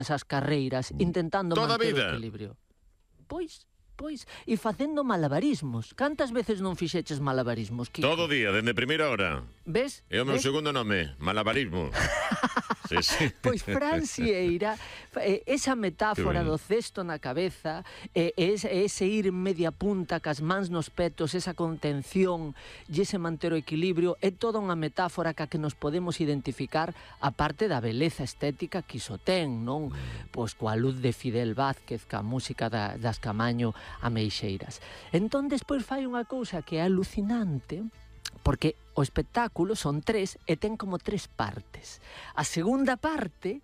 esas carreiras intentando Toda a manter vida. o equilibrio. Pois, e facendo malabarismos. Cantas veces non fixeches malabarismos, Kiko? Todo día, dende primeira hora. Ves? É o meu Ves? segundo nome, malabarismo. Sí. Pois Fran Sieira, esa metáfora do cesto na cabeza, ese ir media punta cas mans nos petos, esa contención e ese manter o equilibrio, é toda unha metáfora ca que nos podemos identificar a parte da beleza estética que iso ten, non? Pois coa luz de Fidel Vázquez, ca música das Camaño Ameixeiras. Entón, despois fai unha cousa que é alucinante, porque o espectáculo son 3 e ten como 3 partes. A segunda parte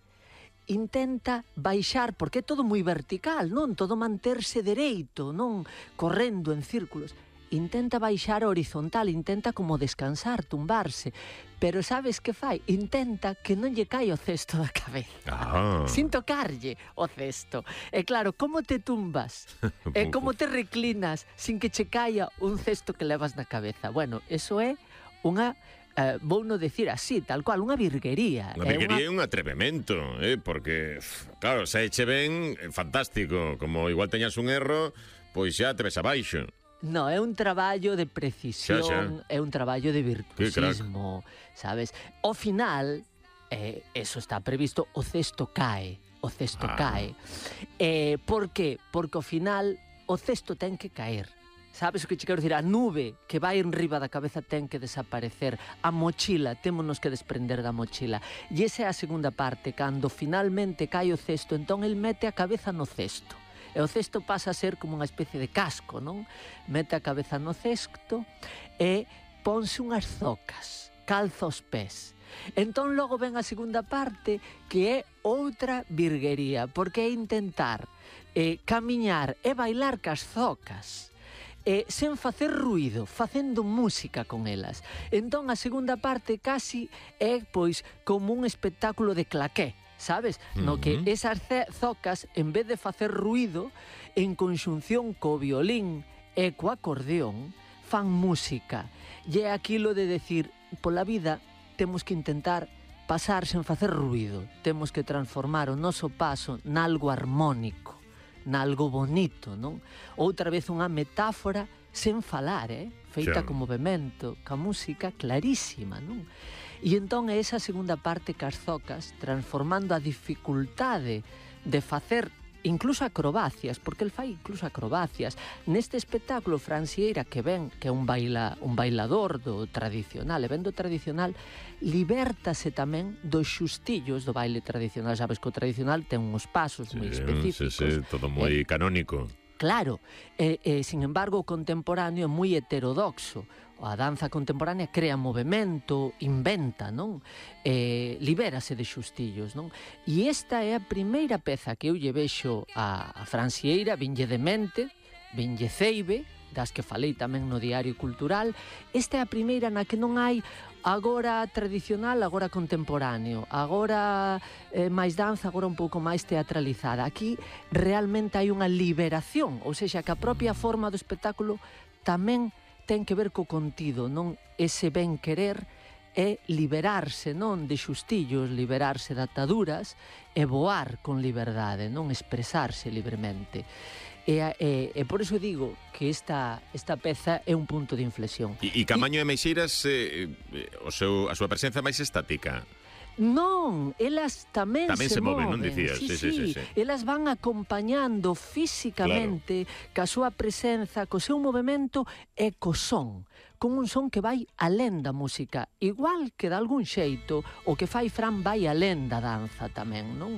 intenta baixar, porque é todo moi vertical, non? Todo manterse dereito, non? Correndo en círculos. Intenta baixar horizontal, intenta como descansar, tumbarse. Pero sabes que fai? Intenta que non lle caia o cesto da cabeza. Sin tocarlle o cesto. E claro, como te tumbas? E como te reclinas sin que che caia un cesto que levas na cabeza? Bueno, eso é unha... vou non decir así, tal cual, unha virguería. Unha virguería e un atrevemento, porque, claro, se eche ben, fantástico. Como igual teñas un erro, pois xa te ves abaixo. No, é un traballo de precisión, é un traballo de virtuosismo, sabes? Ao final, eso está previsto, o cesto cae. Por que? Porque ao final o cesto ten que caer. Sabes o que che quero dicir? A nube que vai enriba da cabeza ten que desaparecer. A mochila, témonos que desprender da mochila. E esa é a segunda parte, cando finalmente cae o cesto, entón el mete a cabeza no cesto. E o cesto pasa a ser como unha especie de casco, non? Mete a cabeza no cesto e ponse unhas zocas, calza os pés. Entón logo ven a segunda parte, que é outra virguería, porque é intentar camiñar e bailar cas zocas, sen facer ruído, facendo música con elas. Entón a segunda parte casi é pois como un espectáculo de claqué, sabes? No que esas zocas, en vez de facer ruído, en conxunción co violín e co acordeón, fan música. E é aquilo de decir, pola vida temos que intentar pasar sen facer ruído. Temos que transformar o noso paso nalgo armónico, nalgo bonito, non? Outra vez unha metáfora sen falar, feita con movimento, ca música clarísima, non? E entón é esa segunda parte cas zocas, transformando a dificultade de facer incluso acrobacias, porque el fai incluso acrobacias. Neste espectáculo, Fran Sieira, que ven, que é un bailador do tradicional, e ven do tradicional, libértase tamén dos xustillos do baile tradicional. Sabes que o tradicional ten uns pasos moi específicos. Todo moi canónico. Claro, sin embargo, o contemporáneo é moi heterodoxo. A danza contemporánea crea movimento, inventa, non? Libérase de xustillos, non? E esta é a primeira peza que eu lle vexo a Fran Sieira, vinlle de mente, vinlle ceibe, das que falei tamén no Diario Cultural. Esta é a primeira na que non hai agora tradicional, agora contemporáneo, agora máis danza, agora un pouco máis teatralizada. Aquí realmente hai unha liberación, ou seja, que a propia forma do espectáculo tamén ten que ver co contido, non? Ese ben querer é liberarse, non? De xustillos, liberarse de ataduras e voar con liberdade, non? Expresarse libremente. E por iso digo que esta peza é un punto de inflexión. E Camaño e Ameixeiras, a súa presenza máis estática? Non, elas tamén se moven, non dicías? Sí. Elas van acompañando físicamente, ca súa presenza, co seu movimento e co son, con un son que vai alén da música, igual que de algún xeito o que fai Fran vai alén da danza tamén, non?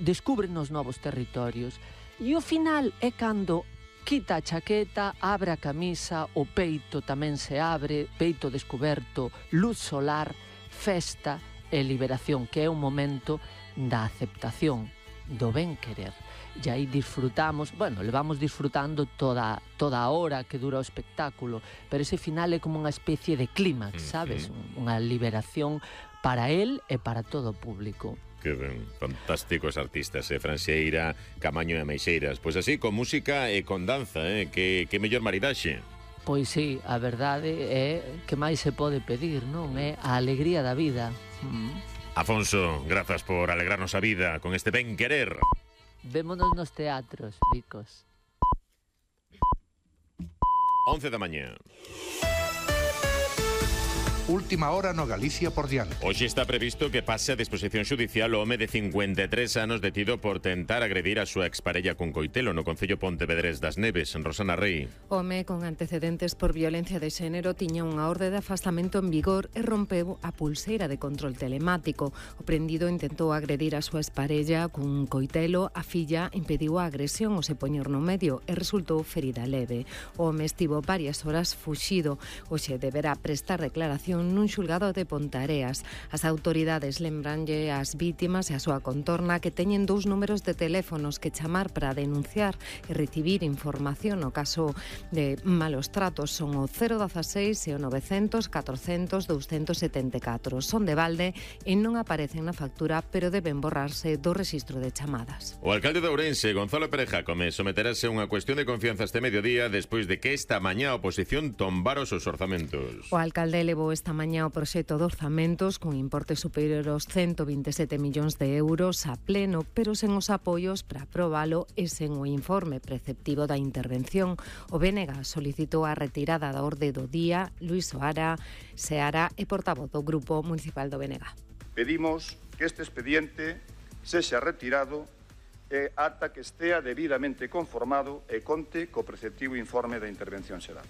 Descubren os novos territorios. E o final é cando quita a chaqueta, abre a camisa, o peito tamén se abre, peito descoberto, luz solar, festa e liberación, que é un momento da aceptación, do ben querer. E aí disfrutamos, levamos disfrutando toda a hora que dura o espectáculo, pero ese final é como unha especie de clímax, sabes? Unha liberación para él e para todo o público. Que ben, fantásticos artistas, Fran Sieira, Camaño e Ameixeiras. Pois así, con música e con danza, que mellor maridaxe. Pois sí, a verdade é que máis se pode pedir, non? É a alegría da vida. Afonso, grazas por alegrarnos a vida con este ben querer. Vémonos nos teatros, ricos. 11 da mañá. Última hora no Galicia por diante. Hoxe está previsto que pase a disposición xudicial o home de 53 anos detido por tentar agredir a súa exparella con coitelo no concello Pontevedrés das Neves, en Rosana Rei. Home con antecedentes por violencia de xénero tiña unha orde de afastamento en vigor e rompeu a pulseira de control telemático. O prendido intentou agredir a súa exparella cun coitelo, a filla impediu a agresión ao se poñer no medio e resultou ferida leve. O home estivo varias horas fuxido. Hoxe deberá prestar declaración nun xulgado de Pontareas. As autoridades lembranlle ás vítimas e a súa contorna que teñen 2 números de teléfonos que chamar para denunciar e recibir información no caso de malos tratos. Son o 016 e o 900 400 274. Son de balde e non aparecen na factura, pero deben borrarse do rexistro de chamadas. O alcalde de Ourense, Gonzalo Pérez Jácome, someterase a unha cuestión de confianza este mediodía despois de que esta mañá a oposición tombara os orzamentos. O alcalde levou esta mañá o proxecto de orzamentos con importe superior aos 127 millóns de euros a pleno, pero sen os apoios para aprobalo e sen o informe preceptivo da intervención. O BNG solicitou a retirada da orde do día. Luis Seara é portavoz do Grupo Municipal do BNG. Pedimos que este expediente sexa retirado ata que estea debidamente conformado e conte co preceptivo informe da intervención xeral.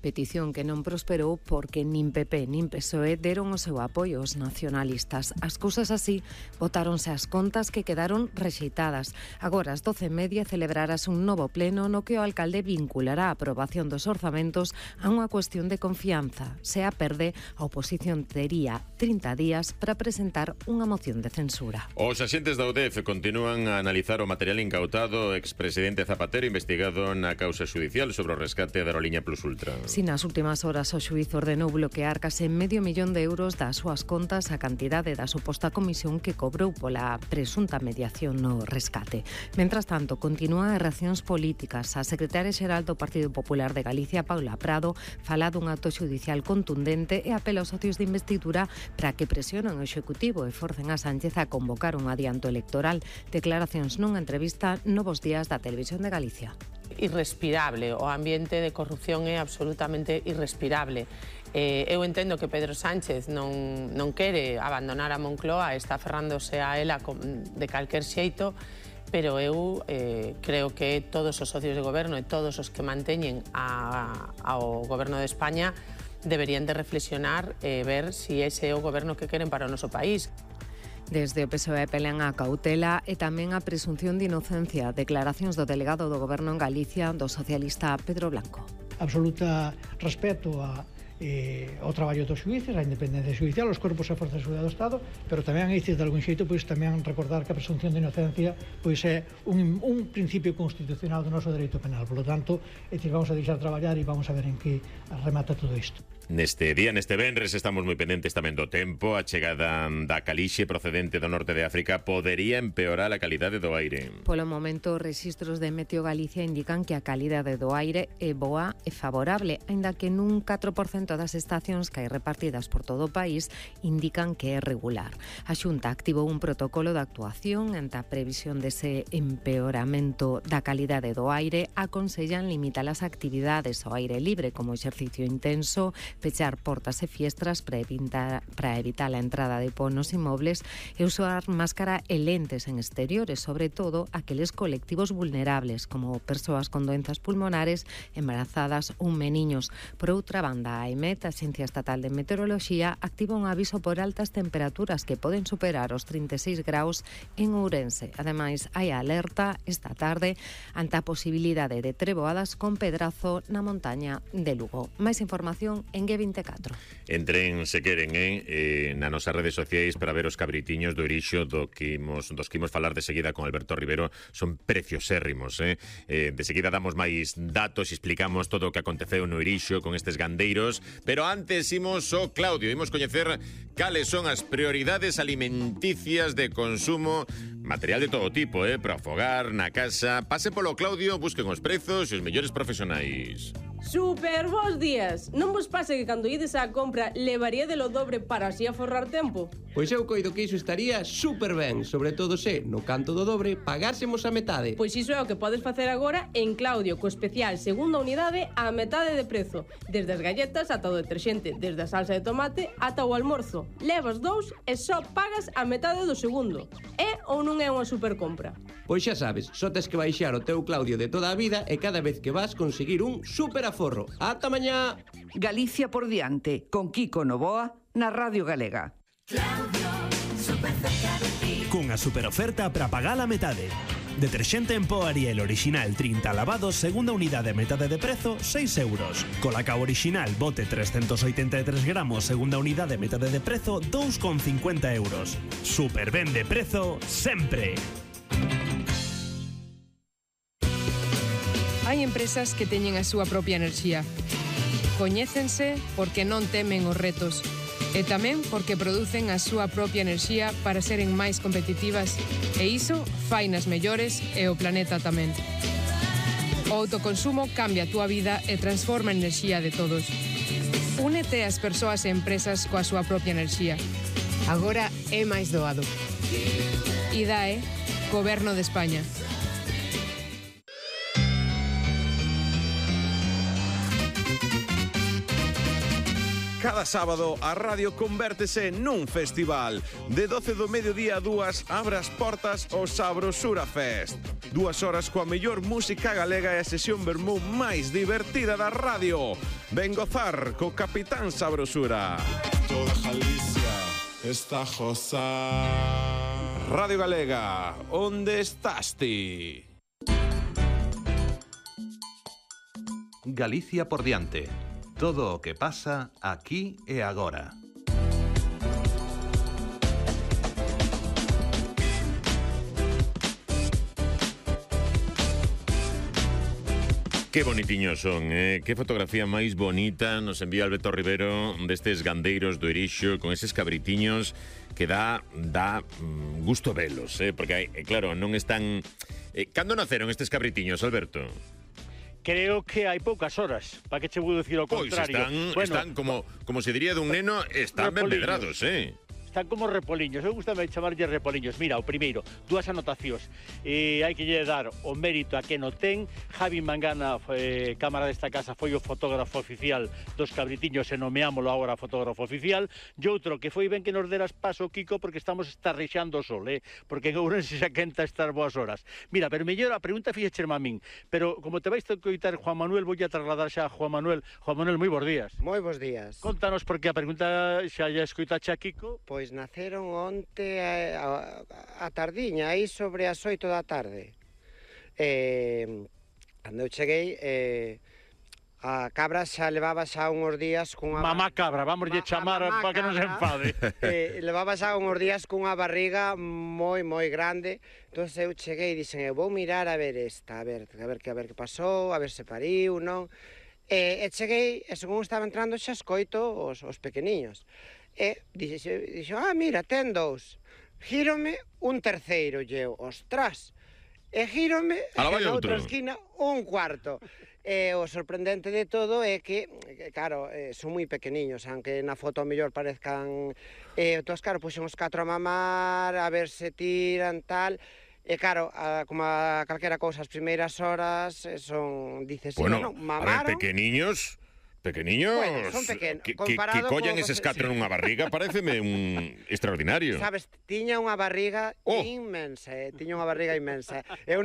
Petición que non prosperou porque nin PP nin PSOE deron o seu apoio aos nacionalistas. As cousas así, votáronse as contas que quedaron rexeitadas. Agora, ás 12:30, celebrarás un novo pleno no que o alcalde vinculará a aprobación dos orzamentos a unha cuestión de confianza. Se a perde, a oposición tería 30 días para presentar unha moción de censura. Os axentes da UDF continúan a analizar o material incautado ao expresidente Zapatero investigado na causa xudicial sobre o rescate da aerolínea Plus Ultra. Si nas últimas horas o xuíz ordenou bloquear case medio millón de euros das súas contas a cantidade da suposta comisión que cobrou pola presunta mediación no rescate. Mentras tanto, continúan as reaccións políticas. A secretaria xeral do Partido Popular de Galicia, Paula Prado, fala dun acto xudicial contundente e apela aos socios de investidura para que presionen o Executivo e forcen a Sánchez a convocar un adianto electoral. Declaracións nunha entrevista Novos Días da Televisión de Galicia. Irrespirable, o ambiente de corrupción é absolutamente irrespirable. Eu entendo que Pedro Sánchez non quere abandonar a Moncloa, está aferrándose a ela de calquer xeito, pero eu creo que todos os socios de goberno e todos os que manteñen ao goberno de España deberían de reflexionar e ver se ese é o goberno que queren para o noso país. Desde o PSOE pelean a cautela e tamén a presunción de inocencia. Declaracións do delegado do Goberno en Galicia, do socialista Pedro Blanco. Absoluta respeto ao traballo dos xuíces, a independencia judicial, os corpos e forzas de seguridade do Estado, pero tamén a de algún xeito, pois tamén recordar que a presunción de inocencia pois é un principio constitucional do noso dereito penal. Por lo tanto, vamos a deixar traballar e vamos a ver en que remata todo isto. Neste día, neste venres, estamos moi pendentes tamén do tempo. A chegada da calixe procedente do norte de África podería empeorar a calidade do aire. Polo momento, os rexistros de Meteo Galicia indican que a calidade do aire é boa e favorable, aínda que nun 4% das estacións que hai repartidas por todo o país indican que é regular. A Xunta activou un protocolo de actuación ante a previsión dese empeoramento da calidade do aire. Aconsellan limitar as actividades ao aire libre, como exercicio intenso, pechar portas e fiestras para evitar a entrada de po nos inmobles e usar máscara e lentes en exteriores, sobre todo aqueles colectivos vulnerables, como persoas con doenzas pulmonares, embarazadas ou meniños. Por outra banda, a EMET, a Axencia Estatal de Meteoroloxía, activa un aviso por altas temperaturas que poden superar os 36 graus en Ourense. Ademais, hai alerta esta tarde ante a posibilidade de treboadas con pedrazo na montaña de Lugo. Máis información en G24. Entren, se queren, nas nosas redes sociais para ver os cabritiños do Irixo dos que imos falar de seguida con Alberto Rivero. Son preciosérrimos, De seguida damos máis datos e explicamos todo o que aconteceu no Irixo con estes gandeiros, pero antes imos ao Claudio, imos coñecer cales son as prioridades alimenticias de consumo, material de todo tipo, para o fogar, na casa. Pase polo Claudio, busquen os prezos e os mellores profesionais. Super bons días! Non vos pase que cando ides á compra levaríadelo dobre para así aforrar tempo? Pois eu coido que iso estaría super ben, sobre todo se, no canto do dobre, pagásemos a metade. Pois iso é o que podes facer agora en Claudio, co especial segunda unidade a metade de prezo. Desde as galletas ata o deterxente, desde a salsa de tomate ata o almorzo. Levas dous e só pagas a metade do segundo. É ou non é unha super compra? Pois xa sabes, só tes que baixar o teu Claudio de toda a vida e cada vez que vas conseguir un super aforro. Ata mañá! Galicia por diante, con Kiko Novoa, na Radio Galega. Claudio, super cerca de ti. Cunha super oferta para pagar a metade. Deterxente en pó Ariel original 30 lavados, segunda unidade a metade de prezo, 6 euros. Colacao original bote 383 gramos, segunda unidade a metade de prezo, 2,50 euros. Super ben de prezo, sempre. Hai empresas que teñen a súa propia enerxía. Coñécense porque non temen os retos e tamén porque producen a súa propia enerxía para seren máis competitivas e iso fainas mellores e o planeta tamén. O autoconsumo cambia a túa vida e transforma a enerxía de todos. Únete ás persoas e empresas coa súa propia enerxía. Agora é máis doado. IDAE, Goberno de España. Cada sábado a radio convértese nun festival. De 12 do mediodía a 2 abre as portas o Sabrosura Fest. 2 horas coa mellor música galega e a sesión vermú máis divertida da radio. Ven gozar co Capitán Sabrosura. Toda Galicia está josa. Radio Galega, onde estás ti? Galicia por diante. Todo o que pasa aquí e agora. Que bonitiños son, que fotografía máis bonita nos envía Alberto Rivero destes gandeiros do Irixo con eses cabritiños que dá gusto velos, porque claro, non están... Cando naceron estes cabritiños, Alberto? Creo que hai poucas horas, para que che vou dicir o contrario. Están como se diría dun neno, están ben medrados, Están como repoliños, eu gustame chamarlle repoliños. Mira, o primeiro, dúas anotacións. Hai que lle dar o mérito a que no ten. Javi Mangana, cámara desta casa, foi o fotógrafo oficial dos cabritiños e nomeámolo agora fotógrafo oficial. E outro, que foi ben que nos deras paso, Kiko, porque estamos estarrexando o sol, porque en Ourense xa quenta estas boas horas. Mira, pero mellor a pregunta fixecherme a min, pero como te vais a coitar Juan Manuel, vou a trasladar xa a Juan Manuel. Juan Manuel, moi bons días. Moi bons días. Contanos, porque a pregunta xa lle escoitache a Kiko. Pois naceron onte a tardiña, aí sobre as 8 da tarde. Cando eu cheguei, a cabra xa levaba xa uns días cunha... Mamá cabra, vamos lle chamar para que non se enfade. Levaba xa uns días cunha barriga moi grande. Entón eu cheguei e dixen, eu vou mirar a ver esta, a ver que pasou, a ver se pariu, non? E cheguei, e según estaba entrando xa escoito os pequeniños. E dixo, mira, ten dous. Gírome un terceiro, e eu, ostras. E gírome na outra esquina un cuarto. E o sorprendente de todo é que, claro, son moi pequeniños, aunque na foto mellor parezcan... Entón, claro, puxen os 4 a mamar, a ver se tiran, tal... E claro, como a calquera cousa, as primeiras horas son, dices, bueno, mamaron... A ver, pequeniños, bueno, son pequenos. Que collan eses 4 nunha barriga, pareceme un extraordinario. Sabes, tiña unha barriga inmensa, tiña unha barriga inmensa. Eu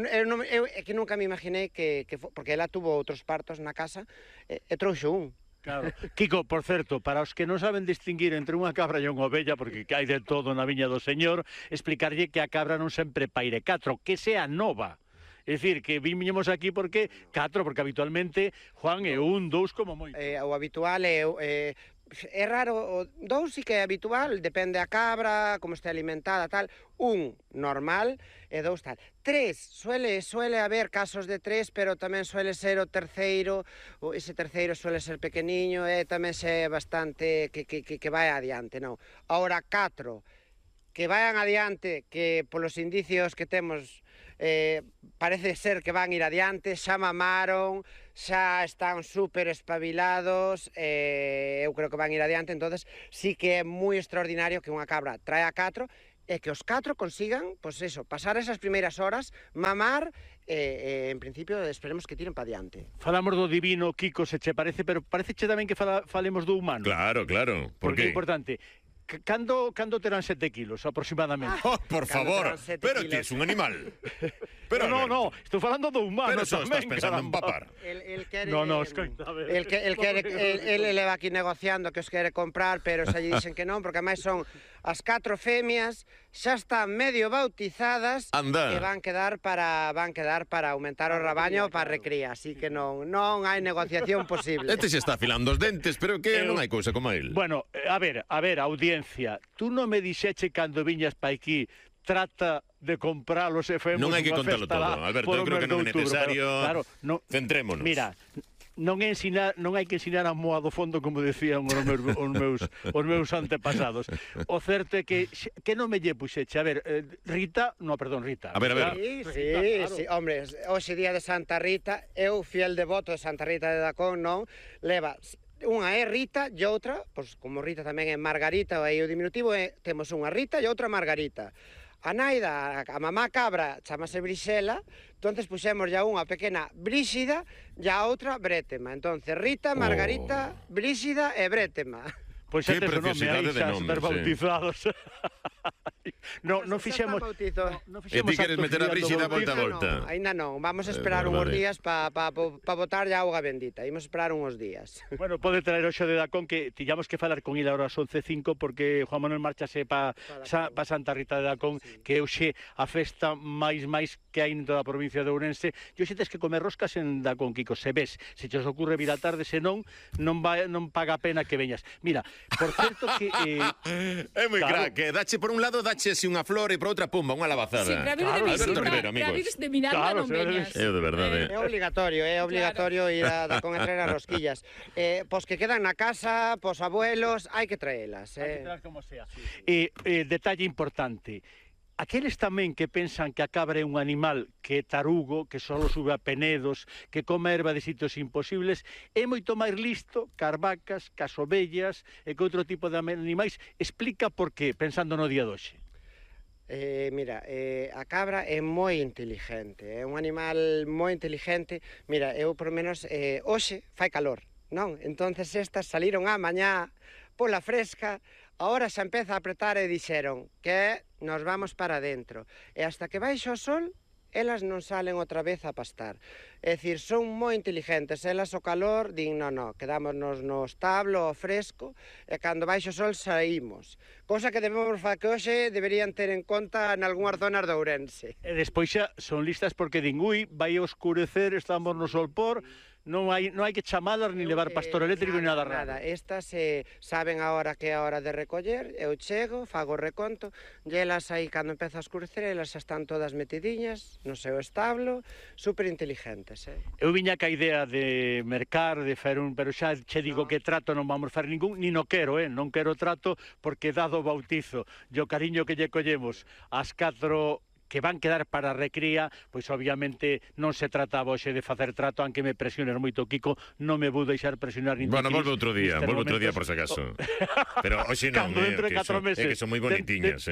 que nunca me imaginei que porque ela tuvo outros partos na casa e trouxo un. Claro. Kiko, por certo, para os que non saben distinguir entre unha cabra e unha ovella, porque hai de todo na viña do Señor, explicarlle que a cabra non sempre paire 4, que sea nova. É dicir, que viñemos aquí porque 4, porque habitualmente, Juan, é 1, 2 como moito. O habitual é raro, 2 sí que é habitual, depende a cabra, como este alimentada, tal. 1, normal, e 2, tal. 3, suele haber casos de 3, pero tamén suele ser o terceiro, ese terceiro suele ser pequeniño, e tamén se bastante que vai adiante, non? Ahora, 4, que vayan adiante, que polos indicios que temos parece ser que van ir adiante, xa mamaron, xa están super espabilados, eu creo que van ir adiante, entonces sí que é moi extraordinario que unha cabra trae a 4 e que os 4 consigan, pois eso, pasar esas primeiras horas, mamar, en principio esperemos que tiren para diante. Falamos do divino, Kiko, se che parece, pero parece che tamén que falemos do humano. Claro, claro. Por Porque qué? é importante. Cando terán 7 kilos, aproximadamente? Oh, por favor, pero que es un animal. Pero no, estou falando do humano. Pero só estás tamén, pensando en caramba. papar. No, escoita, a ver. El leva aquí negociando que os quere comprar, pero xa lle dixen que non, porque máis son as 4 femias, xa están medio bautizadas. Anda. E van quedar para aumentar o rabaño para recría, así que non hai negociación posible. Este se está afilando os dentes, pero que non hai cousa como el. Bueno, a ver, audiencia, tú non me dixeche cando viñas pa aquí trata de compralos e femos Non hai que unha contalo festa todo, lá Alberto, por eu o creo que mes de non é outubro, necesario. pero, claro, Centrémonos. Mira, non hai que ensinar a moa do fondo, como decían os meus antepasados. O certo é que non me lle puxeche. A ver, Rita... A ver. Sí, hombre, hoxe día de Santa Rita, eu fiel devoto de Santa Rita de Dacón, non? Leva... Unha é Rita e outra, pois como Rita tamén é Margarita, aí o diminutivo temos unha Rita e outra Margarita. A naida, a mamá cabra, chamase Brixela, entonces puxemos ya unha pequena Bríxida e a outra Brétema. Entonces Rita, Margarita, Bríxida e Brétema. Pois que tes o nome aí, preciosidade de xa nomes, estar bautizados. Non fixemos... E ti queres meter a Bríxida volta a volta? Ainda non, vamos a esperar uns días para botar a auga bendita, imos esperar uns días. Bueno, pode traer o xo de Dacón, que tiñamos que falar con ele ahora ás 11:05, porque Juan Manuel marchase pa Santa Rita de Dacón, que é hoxe a festa máis que hai en toda a provincia de Ourense. E hoxe tes que comer roscas en Dacón, Kiko, se ves, se te os ocurre vir a tarde, se non paga a pena que veñas. Mira, por certo que... É moi crack, que dache por un lado, dache así unha flor e por outra, pumba, unha labazada. Sí, para vir de visita, Alberto Rivero, para vir de miranda non veñas. É de verdade. É obligatorio ir a Dacón a traer as rosquillas. Pois que quedan na casa, pos abuelos, hai que traelas. Hai que traer como sea. Detalle importante. Aqueles tamén que pensan que a cabra é un animal que é tarugo, que só sube a penedos, que come erva de sitios imposibles, é moito máis listo que as vacas, que as ovellas e que outro tipo de animais. Explica por qué, pensando no día de hoxe. Mira, a cabra é moi inteligente, é un animal moi inteligente. Mira, eu por menos hoxe fai calor, non? Entonces estas saliron á mañá pola fresca, agora xa empeza a apretar e dixeron que nos vamos para dentro. E hasta que baixo o sol, elas non salen outra vez a pastar. É dicir, son moi inteligentes, elas o calor din, no, quedámonos no establo, ao fresco, e cando baixo o sol saímos. Cousa que debemos facer que hoxe deberían ter en conta en algunhas zonas de Ourense. E despois xa son listas porque din, vai oscurecer, estamos no solpor, non hai que chamadas ni levar pastor eléctrico ni nada raro. Estas saben a hora que é a hora de recoller, eu chego, fago o reconto, e elas aí, cando empeza a escurecer, elas xa están todas metidiñas no seu establo, super inteligentes. Eu viña ca idea de mercar, de fer pero xa che digo que trato non vamos fer ningún, ni no quero, non quero trato, porque dado o bautizo e o cariño que lle collemos ás 4 que van quedar para a recría, pois obviamente non se trataba hoxe de facer trato, aunque me presiones moito, Kiko, non me vou deixar presionar nin Bueno, volve outro día por si acaso. Pero hoxe non, é que son moi bonitiñas,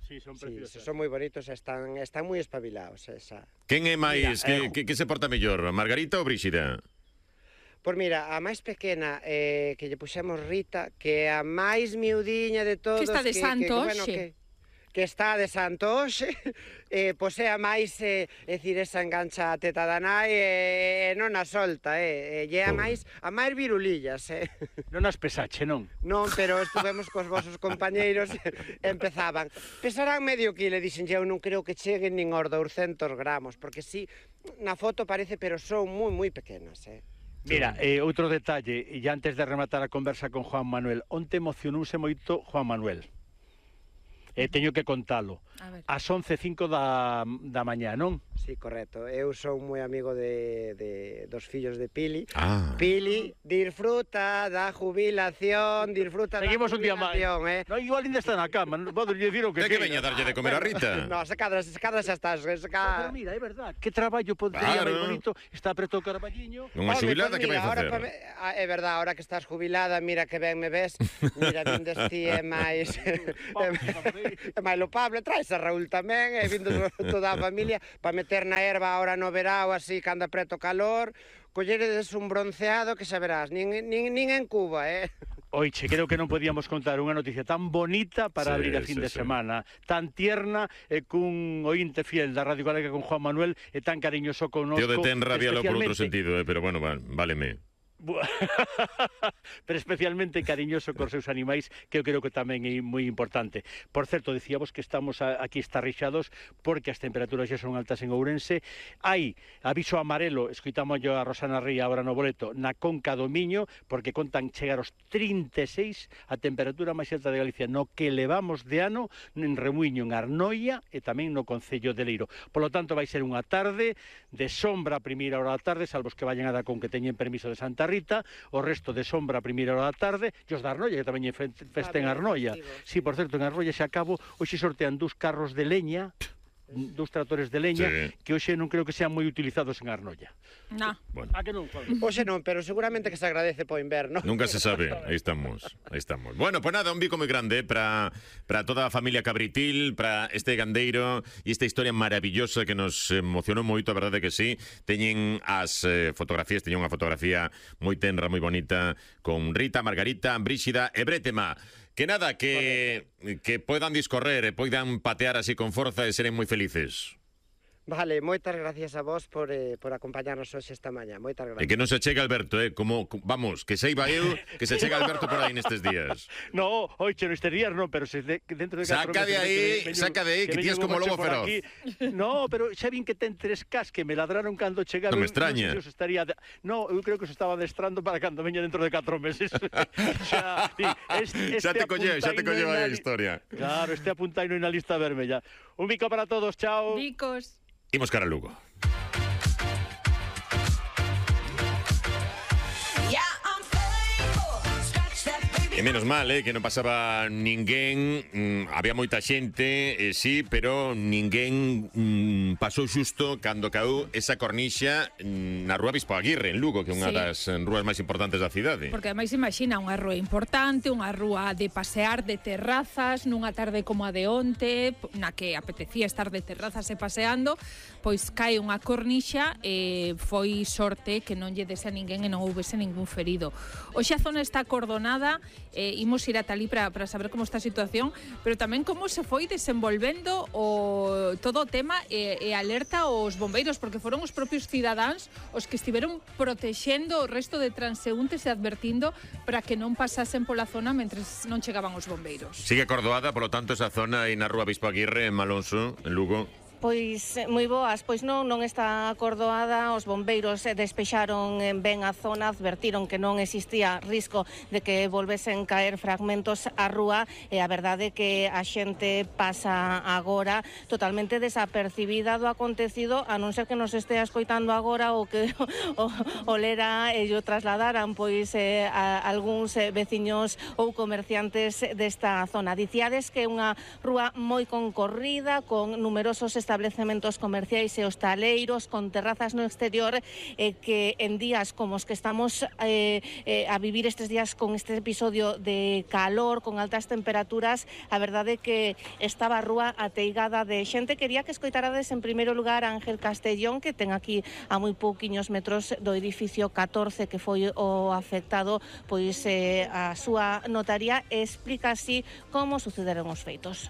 Sí, son preciosas. Sí, son moi bonitos, están moi espabilados. Quen é máis, que se porta mellor, Margarita ou Bríxida? Pois mira, a máis pequena que lle puxemos Rita, que é a máis miudiña de todos, que está de santo hoxe. Que está de santo hoxe, pois é a máis, dicir, esa engancha a teta da nai e non a solta, e é a máis virulillas, Non as pesache, non? Non, pero estuvemos cos vosos compañeiros e empezaban, pesarán medio quilo, e dixen, eu non creo que cheguen nin aos 200 gramos, porque sí, na foto parece, pero son moi pequenas, Mira, outro detalle, e antes de rematar a conversa con Juan Manuel, onte emocionouse moito Juan Manuel. Teño que contalo. Ás 11:05 da mañá, non? Sí, correcto. Eu son moi amigo dos fillos de Pili. Pili, disfruta da jubilación, disfruta Seguimos da jubilación, un día máis. No, igual ainda está na cama, podo dicir o que que veña darlle de comer a Rita? No, se cadra xa estás. Pero mira, é verdad, que traballo podría máis bonito, está preto o carballiño. Unha xubilada que vai facer? É verdad, ahora que estás jubilada, mira que ben me ves, mira, vindes ti é máis lopable, traes a Raúl tamén, e vindo toda a familia, para meter na erva ahora no verao, así, cando apreto calor, colleredes un bronceado que xa verás, nin en Cuba, Oiche, creo que non podíamos contar unha noticia tan bonita para abrir a fin de semana, tan tierna, cun ointe fiel da Radio Galega con Juan Manuel, e tan cariñoso con nosco. Yo detén rabialo por outro sentido, pero bueno, váleme. Pero especialmente cariñoso cos seus animais, que eu creo que tamén é moi importante. Por certo, dicíamos que estamos aquí estarrixados porque as temperaturas xa son altas en Ourense. Hai aviso amarelo, escoitamos a Rosana Ría agora no boleto, na Conca do Miño, porque contan chegar aos 36, a temperatura máis alta de Galicia no que levamos de ano, en Remuiño, en Arnoia e tamén no Concello de Leiro. Por lo tanto, vai ser unha tarde de sombra a primeira hora da tarde, salvo os que vayan a dar con que teñen permiso de Santa Rita, o resto de sombra a primeira hora da tarde, e os da Arnoia, que tamén é festa en Arnoia. Sí, por certo, en Arnoia xa acabo, hoxe sortean 2 carros de leña, 2 tractores de leña, que hoxe non creo que sean moi utilizados en Arnoia. No. Bueno. Que non? Hoxe non, pero seguramente que se agradece po inverno. Nunca se sabe, aí estamos. Bueno, pues nada, un bico moi grande para toda a familia Cabritil, para este gandeiro e esta historia maravillosa que nos emocionou moito, a verdade que sí. Teñen as fotografías, teñen unha fotografía moi tenra, moi bonita, con Rita, Margarita, Bríxida e Brétema. Que nada, que poidan discorrer e poidan patear así con forza e seren moi felices. Vale, moitas gracias a vos por acompañarnos hoxe esta mañá. Moitas gracias. E que non se chega Alberto, como, vamos, que seiba eu, que se chega Alberto por aí nestes días. No, oiche, nestes días non, pero se dentro de 4 meses... Saca de aí, que tías como lobo feroz. No, pero xa vin que ten 3 cas que me ladraron cando chegaron. Non me extraña. No, eu creo que se estaba adestrando para cando veña dentro de 4 meses. Xa te colleu a historia. Claro, este apuntaino na lista vermella. Un bico para todos, chao. Bicos. Imos cara a Lugo. E menos mal, que non pasaba ninguén, había moita xente, sí, pero ninguén pasou xusto cando caeu esa cornixa na Rúa Bispo Aguirre, en Lugo, que é unha das rúas máis importantes da cidade. Porque ademais imagina unha rúa importante, unha rúa de pasear, de terrazas, nunha tarde como a de onte, na que apetecía estar de terrazas e paseando, pois cae unha cornixa e foi sorte que non lle dese a ninguén e non houbese ningún ferido. Hoxe a zona está acordonada, imos ir ata ali para saber como está a situación, pero tamén como se foi desenvolvendo todo o tema e alerta aos bombeiros, porque foron os propios cidadáns os que estiveron protexendo o resto de transeúntes e advertindo para que non pasasen pola zona mentres non chegaban os bombeiros. Sigue acordoada, polo tanto, esa zona aí na Rúa Bispo Aguirre, en Malonso, en Lugo. Pois moi boas, pois non está acordoada, os bombeiros despexaron ben a zona, advertiron que non existía risco de que volvesen caer fragmentos á rúa e a verdade é que a xente pasa agora totalmente desapercibida do acontecido, a non ser que nos estea escoitando agora ou que o lera e o trasladaran pois a algúns veciños ou comerciantes desta zona. Dicíades que é unha rúa moi concorrida, con numerosos establecementos comerciais e hostaleiros, con terrazas no exterior, que en días como os que estamos a vivir estes días con este episodio de calor, con altas temperaturas, a verdade é que estaba a rúa ateigada de xente. Quería que escoitarades en primeiro lugar a Ángel Castellón, que ten aquí a moi pouquiños metros do edificio 14 que foi o afectado, pois a súa notaría explica así como sucederon os feitos.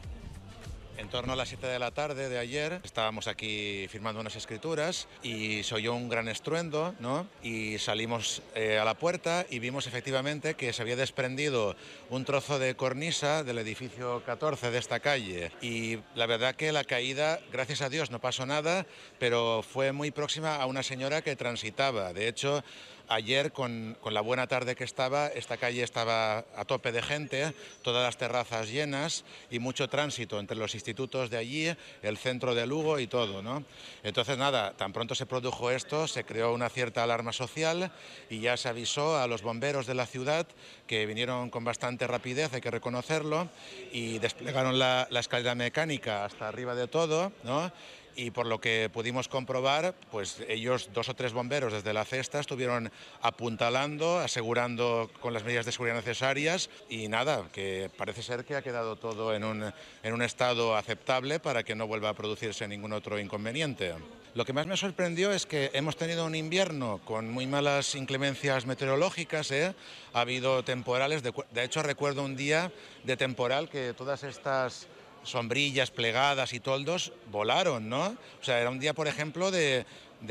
En torno a las 7 de la tarde de ayer estábamos aquí firmando unas escrituras y se oyó un gran estruendo, ¿no? Y salimos a la puerta y vimos efectivamente que se había desprendido un trozo de cornisa del edificio 14 de esta calle. Y la verdad que la caída, gracias a Dios, no pasó nada, pero fue muy próxima a una señora que transitaba. De hecho, Ayer, con la buena tarde que estaba, esta calle estaba a tope de gente, todas las terrazas llenas y mucho tránsito entre los institutos de allí, el centro de Lugo y todo, ¿no? Entonces, nada, tan pronto se produjo esto, se creó una cierta alarma social y ya se avisó a los bomberos de la ciudad, que vinieron con bastante rapidez, hay que reconocerlo, y desplegaron la escalera mecánica hasta arriba de todo, ¿no? Y por lo que pudimos comprobar, pues ellos, 2 o 3 bomberos desde la cesta, estuvieron apuntalando, asegurando con las medidas de seguridad necesarias y nada, que parece ser que ha quedado todo en un estado aceptable para que no vuelva a producirse ningún otro inconveniente. Lo que más me sorprendió es que hemos tenido un invierno con muy malas inclemencias meteorológicas, ¿eh? Ha habido temporales, de hecho recuerdo un día de temporal que todas estas sombrillas plegadas y toldos volaron, ¿no? O sea, era un día, por ejemplo, de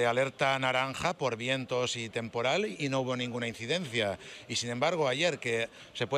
alerta naranja por vientos y temporal y no hubo ninguna incidencia. Y sin embargo, ayer, que se puede